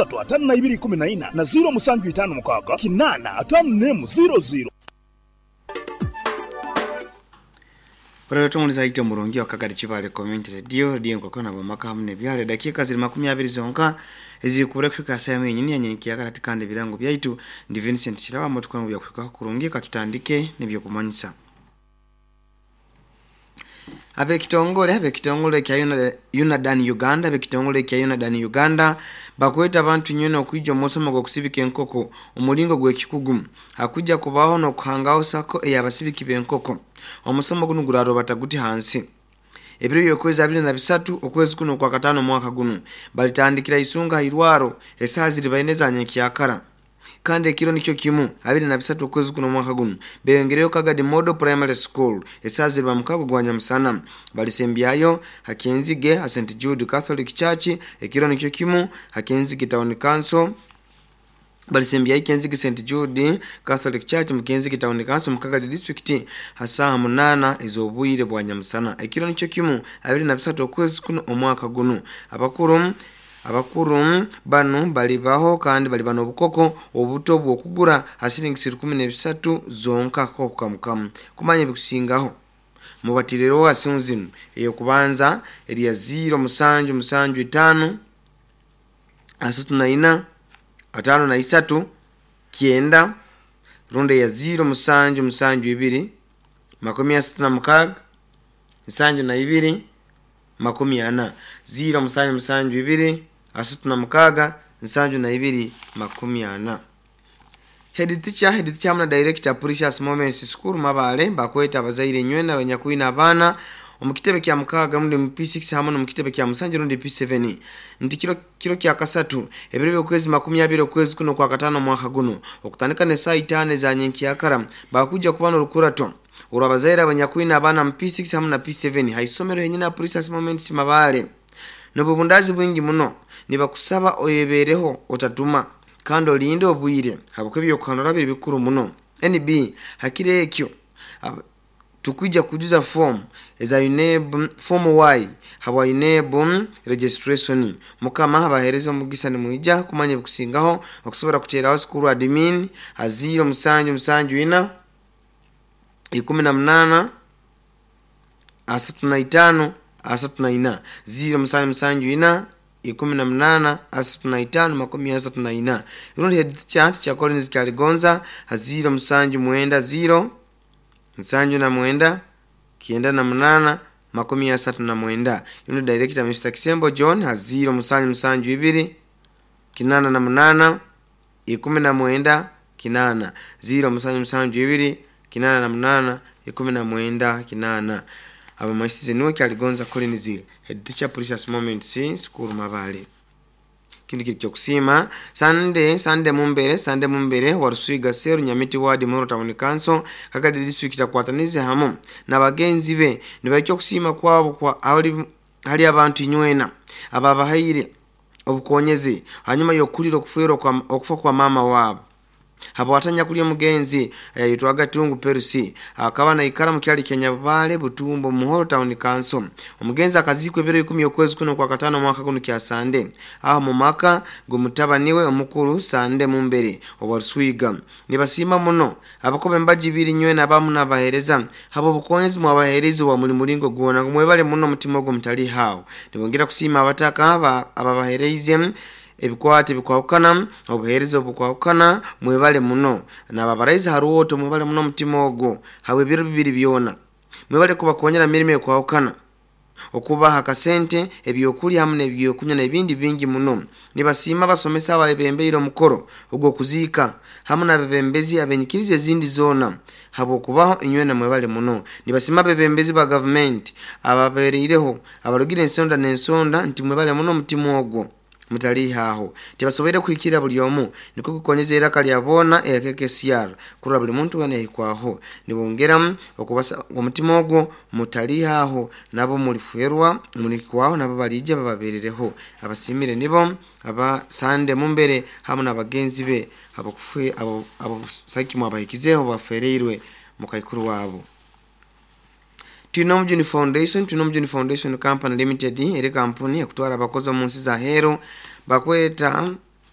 isatu ataano na ibiri ikumi na ina na ziiro musanju itaano mukaaga kinaana ataano n'emu ziiro ziiro. Orero zaite omurungi wa Kagari Kibale Community Radio, radio nkokona bamaka hamwe nebyale dakika ziri 20 zonka ezikubura kufika saa yenyini yanyenkiya kati kandi birango byaitu ndi Vincent Kiraba motukwangu byakwika kurungi katutandike nebyokumanyisa. Abekitongole kya Unadan Uganda, abekitongole kya Unadan Uganda bakweta abantu nyene okwijja omusomo gw'okusibika enkoko omulingo gw'ekikugu hakujja kubaho n'okuhangaho sako ey'abasibiki b'enkoko. Omusomo guno guraroba taguti hansi ebiro by'okwezi 23 okwezi kuno kwa katano mwaka guno balitandikira isunga irwaro esaha ziri baine za nyenkyakara kandi ekiro nikyo kimu 23 okwezi kuno mwaka guno beyongereyo Kagadi Model Primary School esaha ziri bamukago gwa nyamusana balisembyayo Hakenzige ha St Jude Catholic Church ekiro nikyo kimu Hakenzige Town Council balisembyayo Kenzige St Jude Catholic Church mu Kenzige Town Council mu Kagadi District hasaha 8 ez'obwire bwa nyamusana ekiro nikyo kimu 23 okwezi kuno omwaka guno. Abakuru bano balibaho kandi balibano obukoko obuto bw'okugura hasiringi 13 zonka kokukamukamu. Kumanya bikusingaho mubatirero asimu zino eyo kubanza eriya 0 7 7 5 34 53 9 runde ya 0 7 7 2 66 72 40 0 7 7 2 36 72 40. Head teacher na director Precious Moments School Mabale bakweta abazaire nywena abanyakwina abaana omukitebe kya mukaga rundi mu P6 hamwe n'omukitebe kya musanju rundi P7 nti kiro kya kasatu ebiro by'okwezi 20 okwezi kuno kwa katano mwaka guno okutandika ne saa 5 za nyenkyakara bakuja kubana olukurato olwo abazaire abanyakwina abaana mu P6 hamwe na P7 haisomero henyina Precious Moments Mabale n'obubundazi bwingi muno nibakusaba oyebereho otatuma kandi olinde obwire habwo ebyokuhanura biri bikuru muno. NB hakire ekyo tukuja kujuza form eza UNEB form Y habwa UNEB registration. Mukama abahereza omugisa ni muija kumanya bikusingaho okusobora kuteraho school admin ha 0 7 7 4 18 35 34 0 7 7 4 18 35 34. Rundi head chat cha Collins Kyaligonza ha 0 7 9 0 79 98 39. Yuno director Mr. Kisembo John ha 0 7 7 2 88 19 8 0 7 7 2 88 19 8. Aba maisize niwe Kyaligonza Collins head teacher Precious Moments School Mabale. Kindu kiri kyokusima Sande mumbere warusuiga seru Nyamiti wadi Muhoro Town Council Kagadi District akwatanize hamu na bagenzi be nibaikyo kusima kwabo kwa hali abantu inywena ababahaire obukonyezi hanyuma yokulira okuferwa kwa okufa kwa mama wabo. Habo watanya kulya mugenzi yitwaga Tungu Perusi akaba na ikara mukyali Kenya Bale Butumbo Muhoro Town Council. Omugenzi akazikwe ebiro 10 okwezi kuno kwa katano mwaka kuno kya Sande aho mu maka gumutabaniwe omukuru Sande Mumbere obaruswiga. Nibasima muno abakobe mbaji biri nywe nabamu nabahereza habo bukonyezi mwabahereza wa muri mulingo gwona mwebale muno mutima ogwo mutali hawo. Nibongera kusima abataka ababahereize ebikwate bikwahukana obuhereza obukwahukana mwebale muno nababaraiza haruwoto mwebale muno mutima ogwo hawe ebiro bibiri byona mwebale kubakonyera mirimo ekwahukana okubaha akasente ebyokulya hamwe n'ebyokunywa n'ebindi bingi muno. Nibasiima abasomesa ababembeire omukoro ogw'okuziika hamwe n'abebembezi abenyikiriza ezindi zoona habwokubaho inywena mwebale muno. Nibasiima abebembezi ba gavumenti ababereireho abarugire ensonda n'ensonda nti mwebale muno omutima ogwo mutalihaho tibasoboire kuhikira buli omu niko kukonyeza iraka lya bona eya kurora buli muntu wena yahikwaho. Nibongera okubasa omutima ogwo mutalihaho nabo mulifuerwa mulikwaho nabo balija bababerereho. Abasimire nibo aba Sande Mumbere hamwe n'abagenzi be abakufwe abo saki mwabahikizeho bafereirwe mukaikuru wabo. Twinomujuni Foundation Company Limited eri kampuni ekutwara abakozi omu nsi za heru bakweta